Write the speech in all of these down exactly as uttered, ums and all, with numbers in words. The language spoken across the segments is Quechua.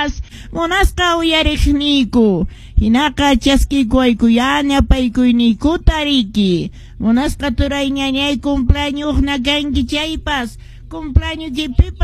chaypas munasqa uyariqniyku hinaqa chaskikuwaykuyá ñapaykuyninkuta riki munasqa turay ñañay cumpleañosna kanki chaypas cumpleaños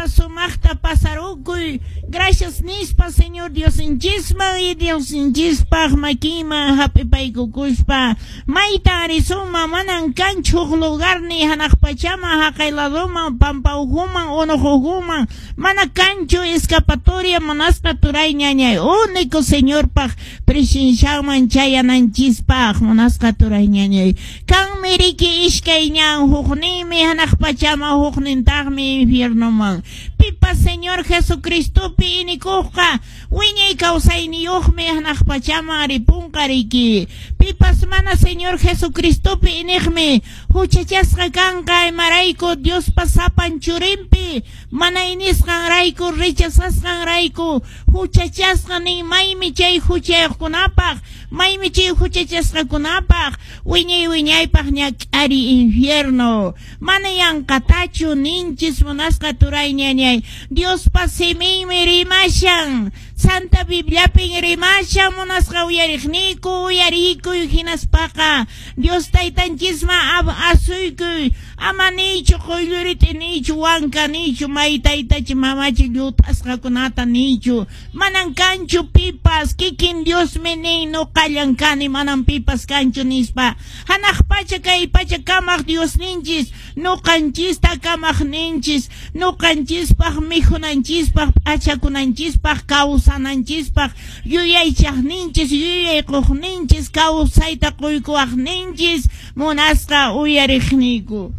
sumaqta pasarukuy gracias nispa Señor Diosninchisman y Diosninchispaq makinman hap'ipaykukuspa maytan risunman manan kanchu huk lugarni hanaq pachaman haqay ladoman pampa ukhuman unuq ukhuman mana kanchu escapatoria munasqa turay ñañay único Señorpaq presencianman chayananchispaq munasqa turay ñañay kanmi riki iskay ñan hukninmi hanaq pachaman huknintaqmi infiernoman pipas Señor Jesucristopi inikuqqa wiñay kawsayniyuqmi hanaq pachaman ripunqa riki pipas mana Señor Jesucristopi iniqmi huchachasqa kanqa imarayku Diospa sapan churinpi mana inisqanrayku rechazasqanrayku huchachasqa nin maymi chay huchayuqkunapaq maymi chay huchachasqakunapaq wiñay wiñaypaq ñak'ari infierno mana yanqatachu ninchis munasqa turay ñañay Diospa siminmi rimashan Santa Bibliapin rimashan munasqa uyariqniyku uyarikuy hinaspaqa Dios taytanchisman asuykuy ama niychu quylluriti niychu wanka niychu may taytachi mamachi llut'asqakunata niychu manan kanchu pipas kikin Diosmi nin nuqallan kani manan pipas kanchu nispa hanaq pacha kay pacha kamaq Diosninchis nuqanchista kamaqninchis nuqanchispaq mikhunanchispaq p'achakunanchispaq kawsananchispaq yuyaychaqninchis yuyayquqninchis kawsayta quykuwaqninchis munasqa uyariqniyku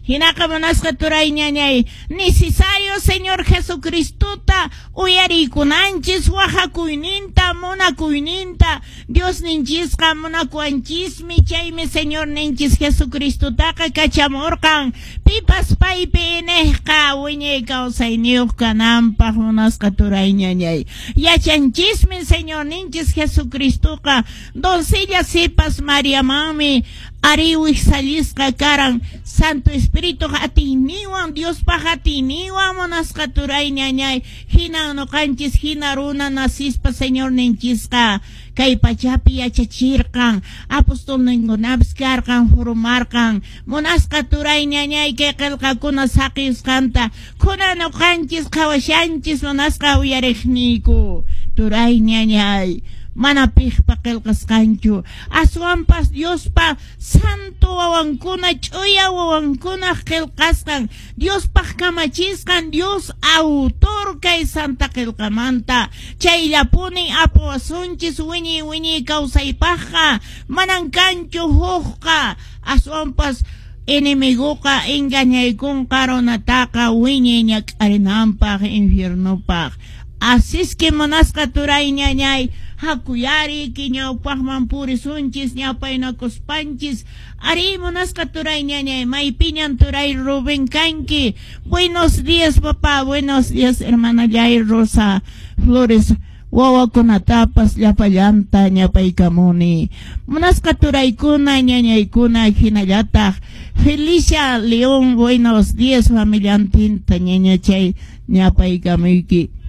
hinaqa munasqa turay ñañay necesario Señor Jesucristota uyarikunanchis waqakuyninta munakuyninta Diosninchisqa munakuwanchismi chaymi Señor ninchis Jesucristotaqa kachamurqan pipas paypi iniqqa wiñay kawsayniyuq kananpaq munasqa turay ñañay yachanchismi Señor ninchis Jesucristoqa doncella sipas Mariamanmi ari wijsallisqa karan Santo Espíritu atiyninwan Diospaq atiyninwan munasqa turay ñañay hina nuqanchis hina runa nasispa Señor ninchisqa kay pachapi yachachirqan apostolninkunapis karqan formarqan munasqa turay ñañay kay qillqakuna saqisqanta kuna nuqanchis qhawashanchis munasqa uyariqniyku turay ñañay mana piqpa qillqasqanchu aswanpas Diospa santo wawankuna ch'uya wawankunaq qillqasqan Diospaq kamachisqan Dios autor kay santa qillqamanta chayllapunin apawasunchis wiñay wiñay kawsaypaqqa manan kanchu hukqa aswanpas enemiguqa engañaykunqa runataqa wiñay ñak'arinanpaq infiernopaq así es que munasqa turay ñañay hakuyari ñawpaqman purisunchis ñawpaynakuspanchis ari munasqa turay ñañay maypiñan turay Rubén kanki buenos días papá buenos días hermana Jair Rosa Flores wawakunatapas llapallanta ñapaykamuni munasqa turaykuna ñañaykuna hinallataq Felicia León buenos días familiantinta ñañachay ñapaykamuyki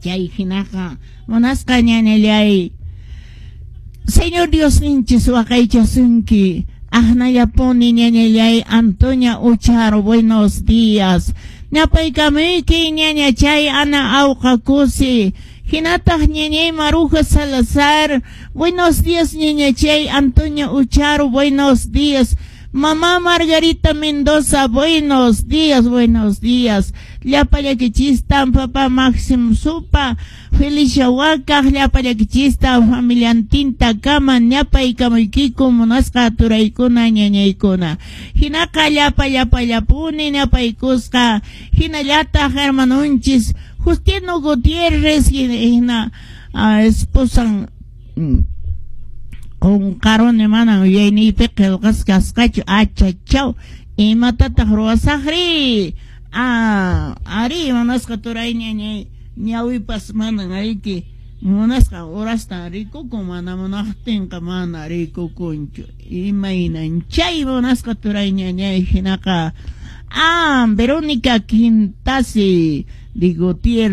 chay hinaqa munasqa ñañallay Señor Dios ninchis waqaychasunki aqnallapuni ñañallay Antonia Ucharo buenos días ñapaykamuyki ñañachay Ana Auqa Kusi hinataq ñañay Maruja Salazar buenos días ñañachay Antonia Ucharo buenos días Mamá Margarita Mendoza, buenos días, buenos días. Llapallakichistan, papá Máximo Supa, Felicia Huacaj, llapallakichistan, familiantinta kama, ñapaykamuykiku, munasqa turaykuna, ñañaykuna. Hinaqa llapa llapa llapuni, ñapaykusqa, hinallataq hermanunchis, Justino Gutiérrez, hina, esposan, qunqaruni manan yuyayniypi qillqasqa kasqachu achachaw imatataq ruwasaqri ah ari munasqa turay ñañay ñawipas manan ayki munasqa horasta rikukun mana munaqtinqa mana rikukunchu imaynan chay munasqa turay ñañay hinaqa ah Verónica Quintasi de Gutiérrez.